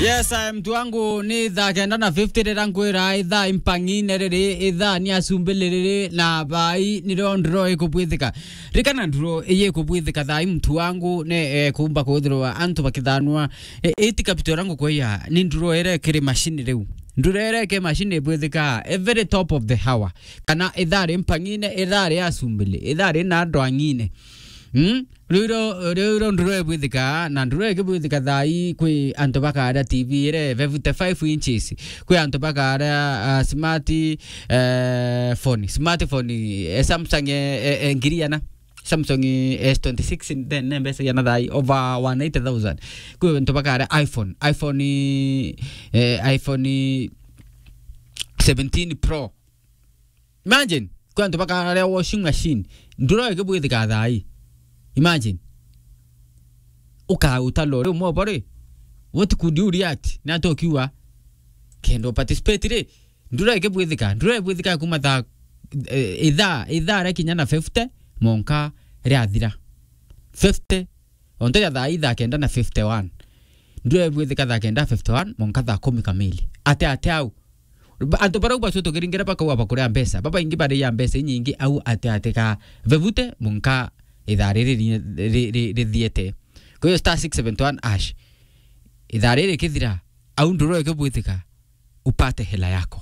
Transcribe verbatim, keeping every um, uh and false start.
Yes, I am, mtu wangu, ni thaa kenda na fifty rira nkwira ithaa impang'ine riri, ithaa ni asumbili riri, na bai nirio nduro ikubwithika. Rikana nduro iyi ikubwithika thaa ii, mtu wangu, ni, eh, kumba kwithirwa antu bakithanua. Eh, iti capital rangu kwaya, ni nduro ere kiri machine riu. Nduro ere ke machine ibwithika, eh, very top of the hour. Kana ithaa ri mpang'ine, ithaa ri asumbili, ithaa ri na ndwang'ine. Mm? Riu iro, riu iro nduro ibwithika, na nduro ikibwithika thaa ii kwi antu bakaria T V ire fifty-five inches. Kwi antu bakaria, ah, smart, eh, phone. Smartphone, eh, Samsung, eh, eh, eh, ngiri ana. Samsung S twenty-six, then ne mbeca yana thaa ii over one eighty thousand. Kwi antu bakaria iPhone. iPhone, eh, iPhone seventeen Pro. Imagine, kwi antu bakaria washing machine. Nduro ikibwithika thaa ii. Imagine. Uka utalore umwe bore. What could you react? Na to kiwa. Kendo participate ri. Nduro ikibwithika. Nduro ibwithika kuma thaa, eh, ithaa, ithaa ria kinya na fifty, monka riathira. Fifty. Onto ya thaa ii thaa kenda na fifty-one. Nduro ibwithika thaa kenda fifty-one, monka thaa kumi kamili. Ate, ate au. Ba-, antu barau bacio tukiringira bakauga bakuria mbeca. Babaingi baria mbeca inyingi au ate ate ka fifty monka ithaa riri ri-, ri-, ri-, rithiete. Kwa hiyo star six seven one hash. Ithaa riri kithira, au nduro ikibwithika, upate hela yako.